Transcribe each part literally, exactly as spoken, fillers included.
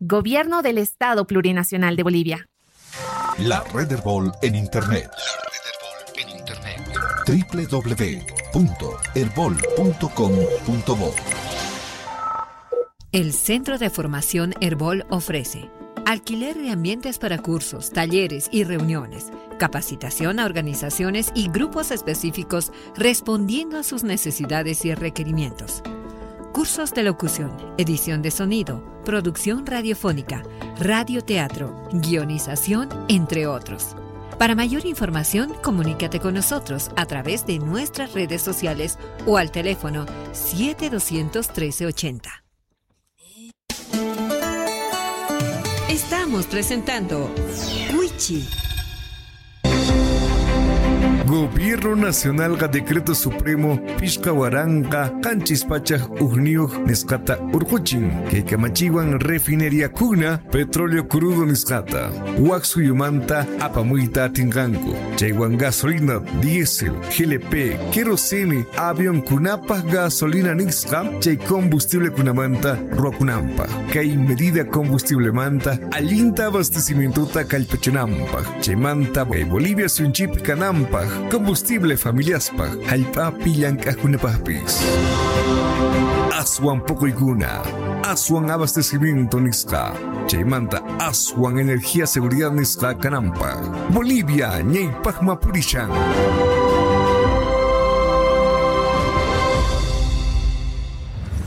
Gobierno del Estado Plurinacional de Bolivia. La Red Herbol en Internet. La Red Herbol en Internet. doble u doble u doble u punto herbol punto com punto bo. El Centro de Formación Herbol ofrece alquiler de ambientes para cursos, talleres y reuniones, capacitación a organizaciones y grupos específicos respondiendo a sus necesidades y requerimientos. Cursos de locución, edición de sonido, producción radiofónica, radioteatro, guionización, entre otros. Para mayor información, comunícate con nosotros a través de nuestras redes sociales o al teléfono siete dos uno tres ochenta. Estamos presentando Wichi. Gobierno Nacional ga Decreto Supremo Pishqa waranqa qanchis pachak hukniyuq nisqata urquchin kay kamachiwan refinería kuna petróleo crudo nisqata wak suyumanta apamuyta atinqanku chaywan gasolina diésel G L P kerosene avión kunapaj gasolina nisqa chay combustible kunamanta ruwakunanpaj kay medida combustible manta allinta abastecimientota kallpachinanpaj chaymanta kay Bolivia suyunchip kananpaj combustible familiaspaj jallp'api llank'ajkunapajpis. Aswan poqoykuna, aswan abastecimiento nisqa, chaymanta aswan energía seguridad nisqa kananpaj. Bolivia ñaypajma purishan.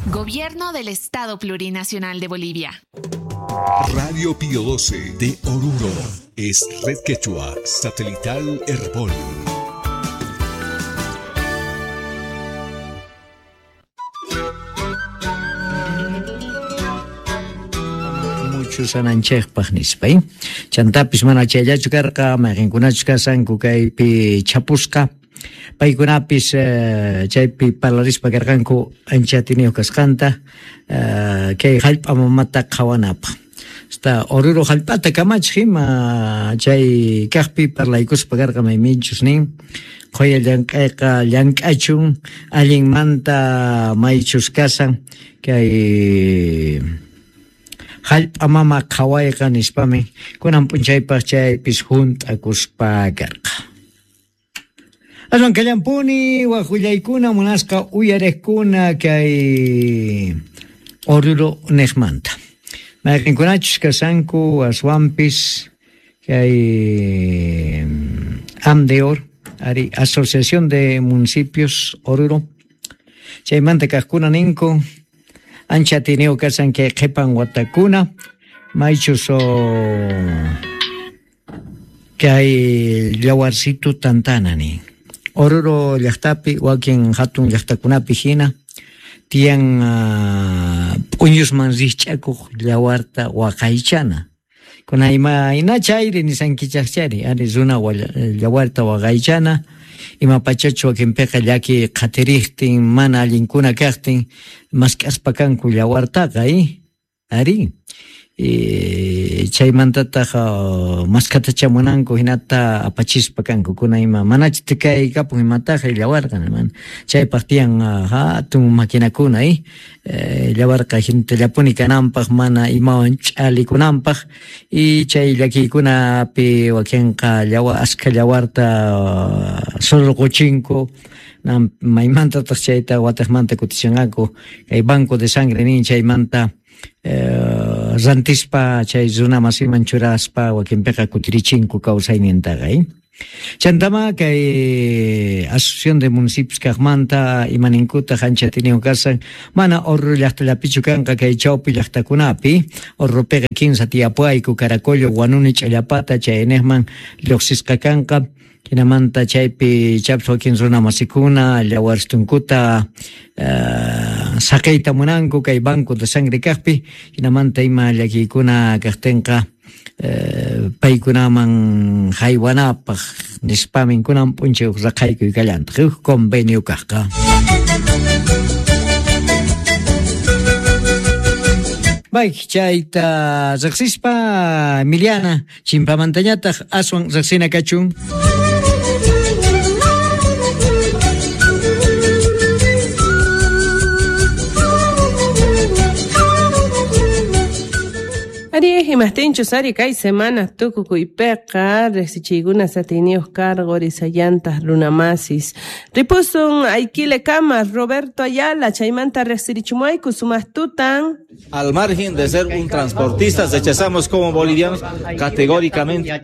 Gobierno del Estado Plurinacional de Bolivia. Radio Pío doce de Oruro es Red Quechua Satelital Herbol. Sananchejpaj nispa, eh? Chantapis mana chayllachu karqa, mayqinkunachu kasanku kaypi chapusqa, paykunapis eh, chaypi parlarispa karqanku ancha atiniyuq kasqanta eh, kay jallp'a mamata qhawanapaq. Hasta Oruro jallp'ata kamachiq ima chay kaqpi parlaykuspa karqa mayminchus nin qhuya llank'ayqa llank'achun allinmanta maychus kasan kay jallp'a mama qhawayqa nispami kunan p'unchaypaq chaypis hunt'akuspa karqa. Aswan kallampuni wak willaykuna munasqa uyariqkuna kay Oruro niqmanta. Mayqinkunachus kasanku aswanpis kay AMDEOR, ari Asociación de Municipios Oruro, chaymanta kaqkuna ninku ancha atiniyuq kasan kay qhipan watakuna maychus kay llawarsitu tantana nin. Oruro llaqtapi wakin hatun llaqtakunapi hina tiyan uh, p'uñusman rikch'akuq llawarta waqaychana. Kuna ima chayri nisankichaqchari ari runa llawarta waqaychana ima pachachu wakinpiqa llaki qhatiriqtin mana allinkuna kaqtin mask'aspa kanku llawartaqa eh? Ari e, chaymantataq mask'atacha munanku hinata apachispa kanku kuna ima manachu tikay kapun imataqa llawarqa man chaypaq tiyan hatun maquinakuna eh? E, llawarqa hintallapuni kananpaq mana imawan ch'alikunanpaq y chay llakiykunapi wakinqa llawa askha llawarta surquchinku maymantataq chayta wataqmanta kutichinqaku kay banco de sangre nin chaymanta Eh, rantispa chay runa masiman churaspa wakinpiqa kutirichinku kawsaynintaqa eh? Chantama kay Asociación de Municipios kaqmanta imaninkutaq ancha atiniyuq kasan mana Oruro llaqtallapichu kanqa kay chawpi llaqtakunapi Oruropiqa kinsa tiyapuayku Caracollo, Huanuni, Ch'allapata chayniqman lluqsisqa kanqa hinamanta chaypi chapis wakin runa masikuna llawarstunkuta uh, saqiyta munanku kay banco de sangre kaqpi hinamanta ima llakiykuna kaqtinqa uh, paykunaman haywanapaq nispamin kunan p'unchay huk raqaykuy kallantaq huk convenio kaqqa. Bay, chayta riqsispa Emiliana chimpamantañataq aswan riqsina kachun. Ari imajtinchus ari kay semana tukukuypiqa riqsichiykuna satiniyuq karqu risallantaq runamasis. Ripusun Aiquile kama Roberto Ayala chaymanta riqsirichumuayku sumaq tutan. Al margen de ser un transportista, rechazamos como bolivianos categóricamente. A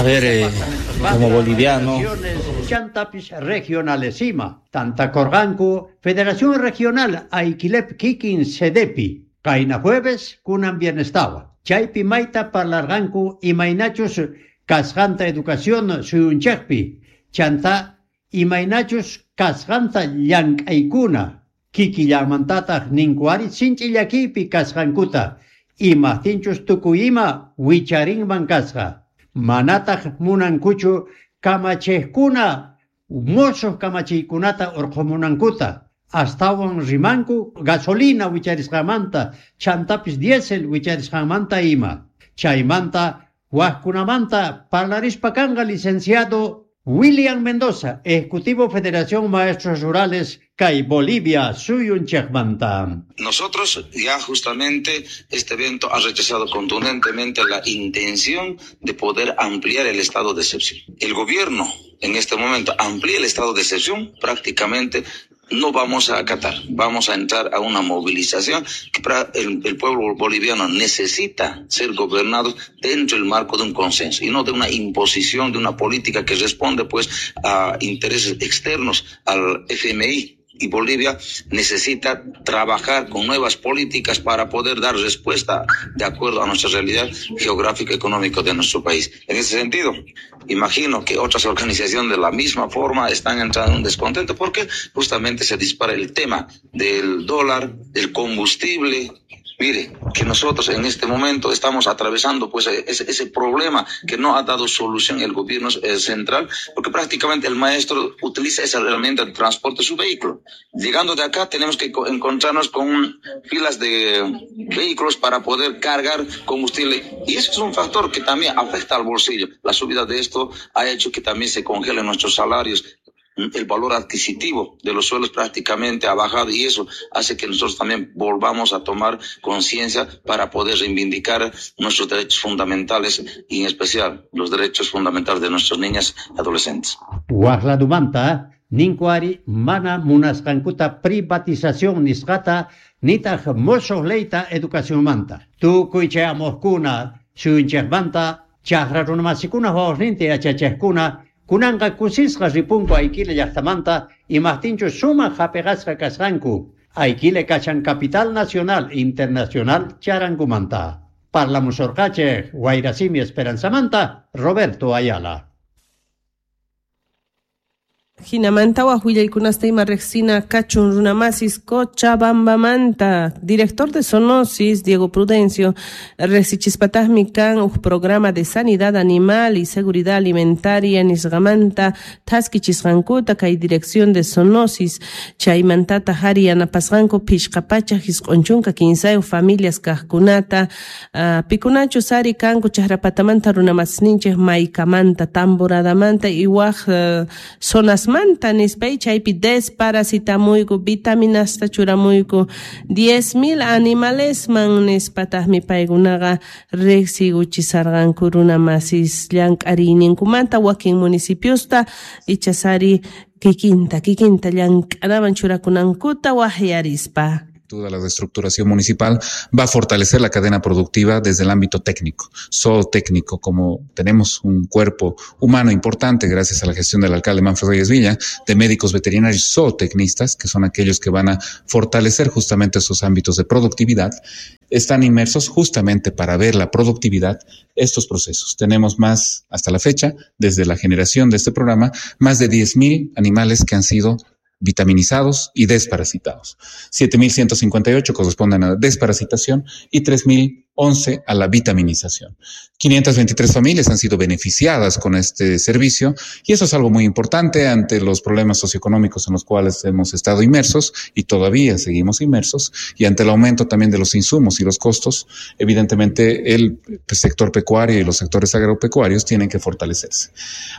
ver, eh, como boliviano. Chantapis regionalesima, Tantacorganco, Federación Regional Aiquilep Kikin Sedepi, Kaina jueves, kunan bienestawa. Chaypi mayta parlarganku imaynachus kasqanta educación suyunchaqpi, chanta imaynachus kasqanta llank'aykuna, kikillamantataq ninkuari sinchi llakiypi kasqankuta, imajtinchus tukuy ima wicharinman kasqa. Manataq munankuchu kamachiqkuna mosuq kamachiykunata urqumunankuta, astawan rimanku gasolina wicharisqamanta, chantapis diésel wicharisqamanta ima. Chaymanta wajkunamanta parlarispa kanqa licenciado William Mendoza, Ejecutivo Federación Maestros Rurales kay Bolivia suyunchikmanta. Nosotros ya justamente este evento ha rechazado contundentemente la intención de poder ampliar el estado de excepción. El gobierno en este momento amplía el estado de excepción, prácticamente no vamos a acatar, vamos a entrar a una movilización que para el, el pueblo boliviano necesita ser gobernado dentro del marco de un consenso y no de una imposición de una política que responde pues a intereses externos al F M I. Y Bolivia necesita trabajar con nuevas políticas para poder dar respuesta de acuerdo a nuestra realidad geográfica y económica de nuestro país. En ese sentido, imagino que otras organizaciones de la misma forma están entrando en un descontento porque justamente se dispara el tema del dólar, del combustible. Mire, que nosotros en este momento estamos atravesando pues ese, ese problema que no ha dado solución el gobierno central, porque prácticamente el maestro utiliza esa herramienta de transporte de su vehículo. Llegando de acá tenemos que encontrarnos con filas de vehículos para poder cargar combustible, y eso es un factor que también afecta al bolsillo. La subida de esto ha hecho que también se congelen nuestros salarios. El valor adquisitivo de los suelos prácticamente ha bajado y eso hace que nosotros también volvamos a tomar conciencia para poder reivindicar nuestros derechos fundamentales y en especial los derechos fundamentales de nuestras niñas y adolescentes. Wajladumanta, ninkuari mana munasqankuta privatización nisqata nitaq mosuq leyta educacionmanta. Tukuy chayamuqkuna suyunchikmanta chaqra runamasikuna wawasninta yachachiqkuna kunanqa kusisqa ripunku Aiquile llaqtamanta imajtinchu sumaq hapiqasqa kasqanku. Aiquile kachan capital nacional internacional charankumanta. Parlamusorqachej Wayrasimi Esperanzamanta, Roberto Ayala. Jinamanta waj willaykunasta ima riqsina kachun runamasis Cochabambamanta. Director de Zoonosis, Diego Prudencio, riqsichispataqmi kan uj programa de sanidad animal y seguridad alimentaria nisqamanta thaskichisqankuta kay dirección de Zoonosis chaymantataq ari yanapasqanku phishqa pachaq isq'un chunka kinsayuq familias kaqkunata uh, pikunachus ari kanku chaqrapatamanta runamasninchik Maykamanta, Tamboradamanta y waj uh, zonas manta nispay chaypi desparasitamuyku vitaminasta churamuyku diez mil animalesman nispataqmi paykunaqa riqsiykuchisarqanku runamasis llank'ariyninkumanta wakin municipiosta ichasari kikinta kikinta llank'anaman churakunankuta waqyarispa. Toda la reestructuración municipal va a fortalecer la cadena productiva desde el ámbito técnico, zootécnico, como tenemos un cuerpo humano importante gracias a la gestión del alcalde Manfred Reyes Villa, de médicos veterinarios zootecnistas, que son aquellos que van a fortalecer justamente esos ámbitos de productividad, están inmersos justamente para ver la productividad estos procesos. Tenemos más, hasta la fecha, desde la generación de este programa, más de diez mil animales que han sido vitaminizados y desparasitados. siete mil ciento cincuenta y ocho corresponden a desparasitación y tres mil once a la vitaminización. quinientas veintitrés familias han sido beneficiadas con este servicio y eso es algo muy importante ante los problemas socioeconómicos en los cuales hemos estado inmersos y todavía seguimos inmersos, y ante el aumento también de los insumos y los costos, evidentemente el sector pecuario y los sectores agropecuarios tienen que fortalecerse.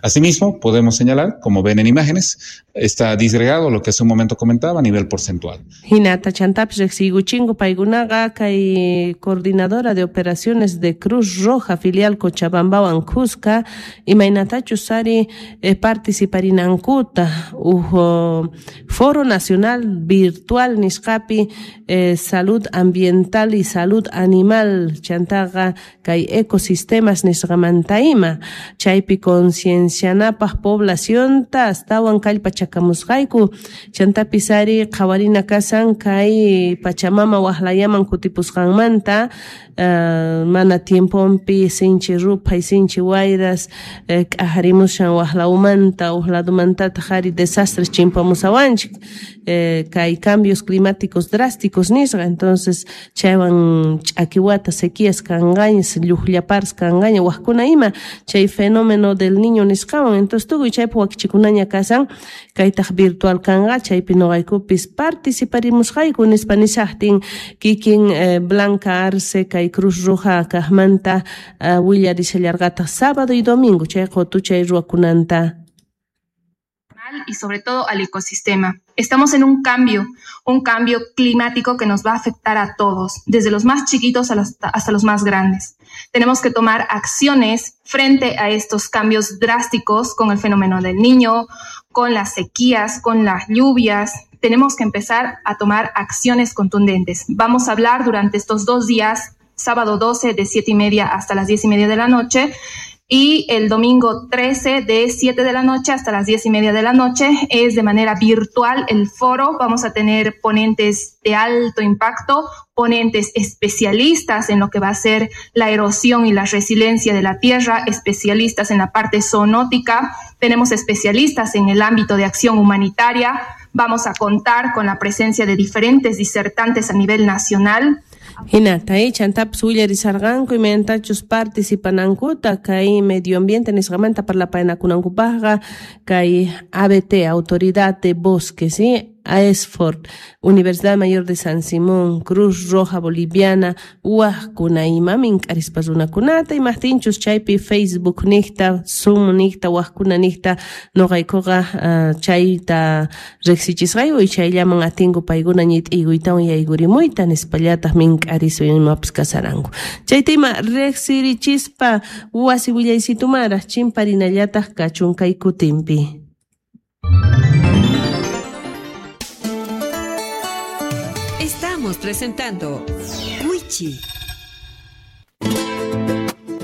Asimismo, podemos señalar, como ven en imágenes, está disgregado lo que hace un momento comentaba a nivel porcentual. Hinata chantapis riqsiykuchinko paykunaqa kay coordinadora de operaciones de Cruz Roja filial Cochabambawan Cusca imaynatachus ari eh, participarinankuta uj Foro Nacional Virtual nisqapi eh, Salud Ambiental y Salud Animal chantaqa kay ecosistemas nisqamanta ima chaypi conciencianapaj poblacionta astawan kallpachakamusqayku chantapis ari qhawarina kasan kay Pachamama waqlayaman kutipusqanmanta uh, mana tiemponpi sinchi ruphay sinchi wayras eh, k'ajarimushan waqlawmanta uj ladomantataq ari desastres chimpamusawanchik eh, kay cambios climáticos drásticos nisqa, entonces chaywan ch'akiwata sequías kanqaña lluqllapars kanqaña waqkuna ima chay fenómeno del niño nisqawan, entonces tukuy chaypi wakichikunaña kasan kaytaq virtual kanqa chaypi noqaykupis participarimusqayku nispa nishaqtin kikin eh, Blanca Arce kay Cruz Roja kaqmanta uh, willarishallarqataq sábado y domingo chay qutuchay ruwakunanta. Y sobre todo al ecosistema. Estamos en un cambio, un cambio climático que nos va a afectar a todos, desde los más chiquitos hasta los más grandes. Tenemos que tomar acciones frente a estos cambios drásticos con el fenómeno del niño, con las sequías, con las lluvias. Tenemos que empezar a tomar acciones contundentes. Vamos a hablar durante estos dos días, sábado doce de siete y media hasta las diez y media de la noche, y el domingo trece de siete de la noche hasta las diez y media de la noche. Es de manera virtual el foro. Vamos a tener ponentes de alto impacto, ponentes especialistas en lo que va a ser la erosión y la resiliencia de la tierra, especialistas en la parte zoonótica, tenemos especialistas en el ámbito de acción humanitaria. Vamos a contar con la presencia de diferentes disertantes a nivel nacional. Hinata chantapis willarisarqanku imaynatachus participanankuta kay medio ambiente nisqamanta parlapaynakunankupaqqa kay A B T, Autoridad de Bosques, ¿sí? AESFORT, Universidad Mayor de San Simón, Cruz Roja Boliviana, wajkuna ima mink'arispa runakunata imajtinchus chaypi Facebook niqta, Zoom niqta, wajkuna niqta noqaykuqa uh, chayta riqsichisqayku y chayllaman atinku paykuna ñit'iykuytawan yaykurimuyta nispallataq mink'arispa imapis kasaranku. Chayta ima riqsirichispa wasi willaysitumara chimparinallataq kachun kay kutinpi. Estamos presentando Wichi.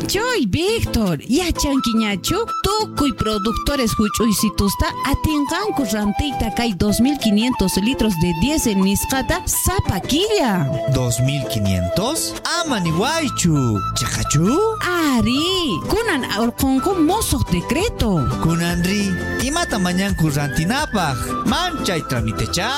Choy, Víctor, yachankiñachu tukuy productores huch'uysitusta atinqanku rantiyta kay dos mil quinientos litros de diésel nisqata sapa killa. ¿dos mil quinientos? Ama niwaychu. Chaqachu? Ari, kunan urqunku mosuq decreto. Kunanri, imata mañanku rantinapaq? Manchay tramitecha.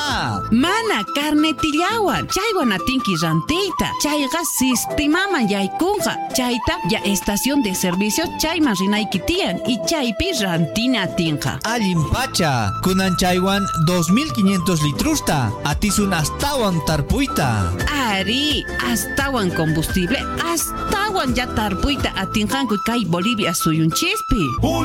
Mana carnetillawan, chaywan atinki rantiyta. Chayqa sistimaman yaykunqa. Chayta ya estación de servicio chayman rinayki tiyan y chaypi rantina atinqa. Allin pacha, kunan chaywan dos mil quinientos litrusta, atisun astawan tarpuyta. Ari, astawan combustible, astawan ya tarpuyta atinqanku kay Bolivia suyunchispi.